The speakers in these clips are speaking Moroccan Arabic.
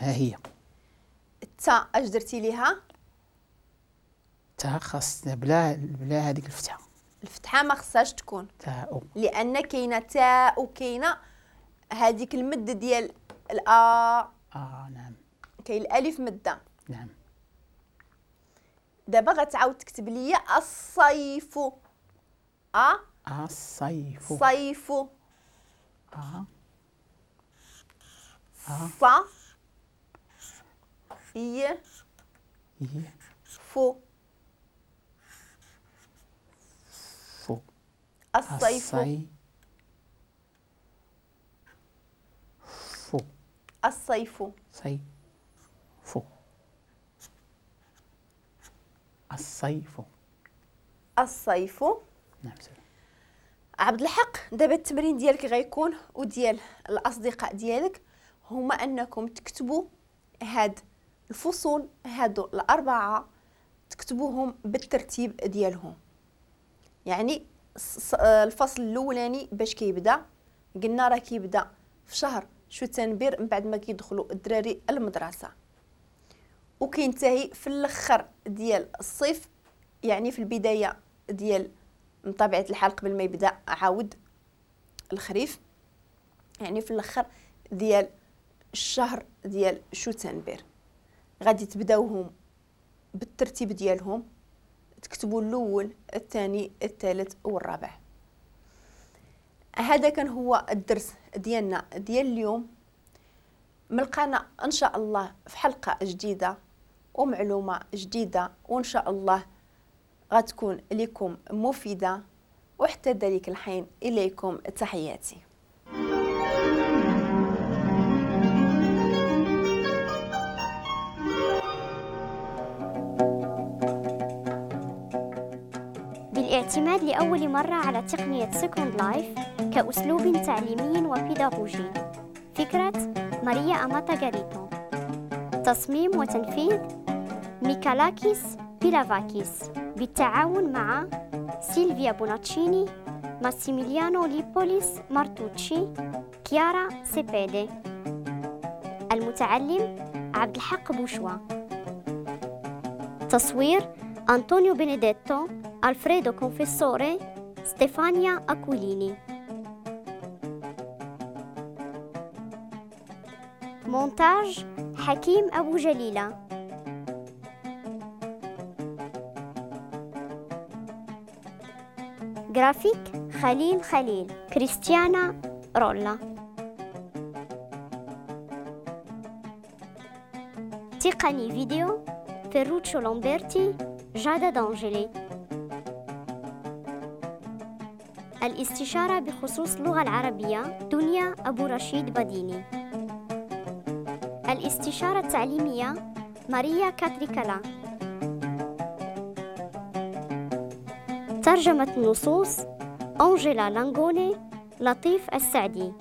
ها هي. التاء اش درتي ليها؟ التاء خاصنا بلا هذيك الفتحة. الفتحة ما خصهاش تكون تاء، لان كاينه تاء وكاينه هذيك المد ديال الأ. نعم، كاين الالف مده. نعم. دابا غتعاود تكتب لي الصيف. الصيف. صيف. ص ي فو. فو. الصيف. فو. الصيف. صيف. الصيف. الصيف. نعم. عبد الحق، دابا التمرين ديالك غيكون وديال الاصدقاء ديالك هما انكم تكتبوا هاد الفصول هادو الاربعة، تكتبوهم بالترتيب ديالهم. يعني الفصل الاولاني باش كيبدا، قلنا راه كيبدا في شهر شتنبر من بعد ما كيدخلوا الدراري المدرسة، وكينتهي في الاخر ديال الصيف، يعني في البداية ديال من طبيعة الحال قبل ما يبدا عاود الخريف، يعني في الاخر ديال الشهر ديال شتنبر. غادي تبداوهم بالترتيب ديالهم، تكتبوا الاول الثاني الثالث والرابع. هذا كان هو الدرس ديالنا ديال اليوم. ملقانا ان شاء الله في حلقة جديدة ومعلومه جديدة، وان شاء الله غتكون لكم مفيدة. وحتى ذلك الحين اليكم تحياتي. بالاعتماد لأول مرة على تقنية Second Life كأسلوب تعليمي وبيداغوجي. فكرة ماريا أماتا غاريتو. تصميم وتنفيذ ميكالاكيس بيلافاكيس بالتعاون مع سيلفيا بوناتشيني، ماسيميليانو ليبوليس مارتوتشي، كيارا سيبيدي. المتعلم عبد الحق بوشوا. تصوير أنطونيو بينيديتو، ألفريدو كونفيسوري، ستيفانيا أكوليني. مونتاج حكيم أبو جليلة. جرافيك خليل خليل، كريستيانا رولا. تقني فيديو فيروتشو لامبرتي، جادا دانجيلي. الاستشارة بخصوص اللغة العربية دنيا أبو رشيد بديني. الاستشارة التعليمية ماريا كاتريكالا. ترجمة النصوص أنجيلا لانغوني، لطيف السعدي.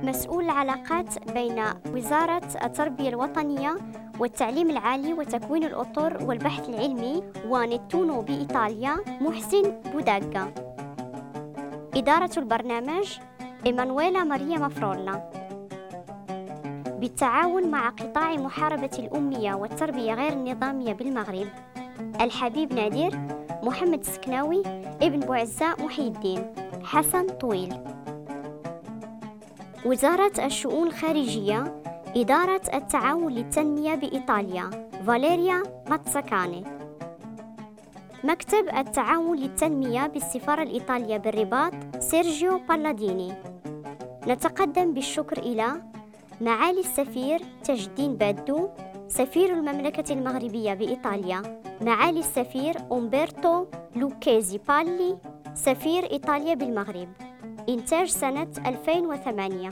مسؤول العلاقات بين وزارة التربية الوطنية والتعليم العالي وتكوين الأطر والبحث العلمي ونتونو بإيطاليا محسن بوداغا. إدارة البرنامج إيمانويلا ماريا مافرولا. بالتعاون مع قطاع محاربة الأمية والتربية غير النظامية بالمغرب، الحبيب نادر، محمد السكناوي، ابن بوعزة محي الدين، حسن طويل. وزارة الشؤون الخارجية، إدارة التعاون للتنمية بإيطاليا، فاليريا ماتساكاني. مكتب التعاون للتنمية بالسفارة الإيطالية بالرباط، سيرجيو بالاديني. نتقدم بالشكر إلى معالي السفير تاج الدين بادو، سفير المملكة المغربية بإيطاليا، معالي السفير أومبرتو لوكيزي بالي، سفير إيطاليا بالمغرب. إنتاج سنة 2008.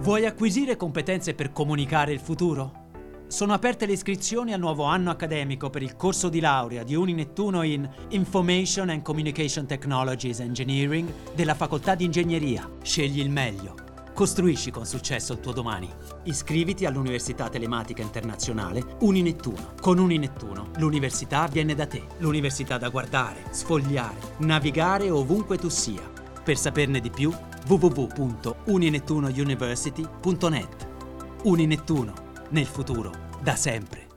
Vuoi acquisire competenze per comunicare il futuro? Sono aperte le iscrizioni al nuovo anno accademico per il corso di laurea di Uninettuno in Information and Communication Technologies Engineering della Facoltà di Ingegneria. Scegli il meglio. Costruisci con successo il tuo domani. Iscriviti all'Università Telematica Internazionale Uninettuno. Con Uninettuno l'università viene da te. L'università da guardare, sfogliare, navigare ovunque tu sia. Per saperne di più www.uninettunouniversity.net. Uninettuno, nel futuro, da sempre.